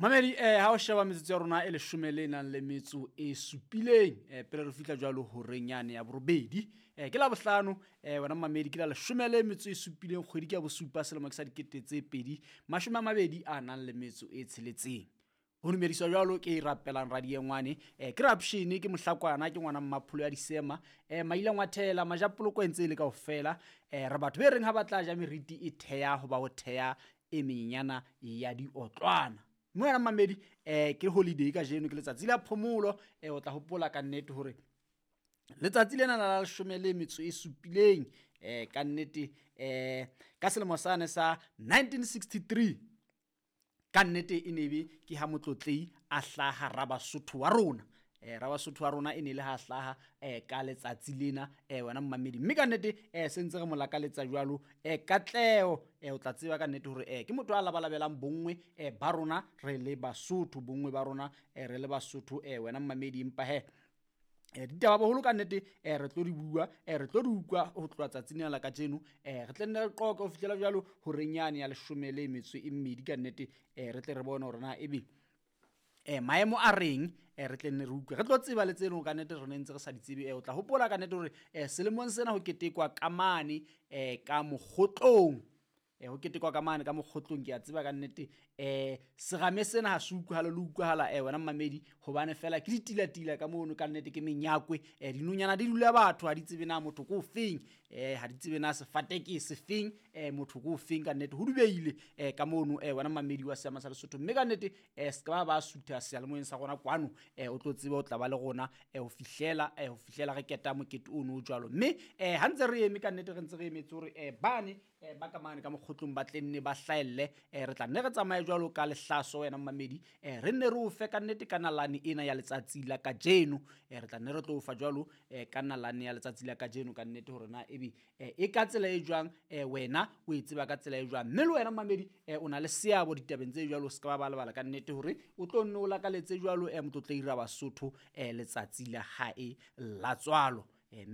Mamedi, ha o sheba metsotso ya rona e leshome le nang le metso e supileng, pele re fihla jwalo horeng yane ya borobedi, ke la bohlano, wena mamedi, ke la leshome le metso e supileng, kgwedi ke ya bosupa, selemo ke sa 2026 a nang le metso e tsheletseng. Ho dumediswa jwalo ke rapelang radiengwane, ke rapshene, ke mohlakwana, ke ngwana mmapholo ya disema, maila ngwathela majapoloko e ntse e le kaofela. Re batho be reng ha ba tla ja meriti e theha ho ba ho theha e menyenyana ya diotlwana. Mme wena mamedi, ke holiday kajeno, ke letsatsi la phomolo. O tla hopola ka nnete hore letsatsi lena la leshome le metso e supileng, ka nnete, ka selemo sane sa 1963, ka nnete e ne be ke ha motlotlei a hlaha Rabasotho wa rona. Rabasotho wa rona e ne le ha hlaha, ka letsatsi lena, wena mmamedi. Mme ka nnete, se ntse re mo lakaletsa jwalo, katleho. O tla tseba ka nnete hore, ke motho a labalabelang bonngwe, ba rona re le Basotho, bonngwe ba rona, re le Basotho, wena mmamedi. Empa he, ditaba boholo ka nnete, re tlo di bua, re tlo di utlwa ho tloha tsatsing lena la kajeno. Re tle nne re qoqe ho fihlela jwalo horeng yane ya leshome le metso e mmedi ka nnete, re tle re bone hore na ebe, maemo a reng, re tle nne re utlwe, re tlo tseba le tse leng ka nnete re ne ntse re sa di tsebe. O tla hopola ka nnete hore, selemong sena ho ketekwa ka mane, ka mokgotlong, ho ketekwa ka mane ka mokgotlong. Ke a tseba ka nnete, serame sena ha se utlwahale le utlwahala, wena mmamedi, hobane fela ke ditilatila ka mono ka nnete, ke menyakwe. Dinonyana di dula batho ha di tsebe na motho ke o feng, ha di tsebe na sefate ke sefeng, motho ke o feng ka nnete. Ho dubeile, ka mono, wena mmamedi wa seama sa Lesotho. Mme ka nnete, se ka ba sutha seyalemoyeng sa rona kwano, o tlo tseba o tla ba le rona, ho fihlela re keta mokete ono o jwalo. Mme, ha ntse re eme ka nnete, re ntse re emetse hore, bane, ba ka mane ka mokgotlong ba tle nne ba hlahelle, re tla nne re tsamaye jwalo ka lehlaso wena mmamedi, re nne re o fe ka nnete ka nalane ena ya letsatsi la kajeno. Re tla nne re tlo o fa jwalo, ka nalane ya letsatsi la kajeno ka nnete, hore na ebe, e ka tsela e jwang, wena o e tseba ka tsela e jwang. Mme le wena mmamedi, o na le seabo ditabeng tse jwalo, se ka ba lebala ka nnete hore o tlo nne o lakaletse jwalo, motlotlei Rabasotho, letsatsi la hae la tswalo. Mme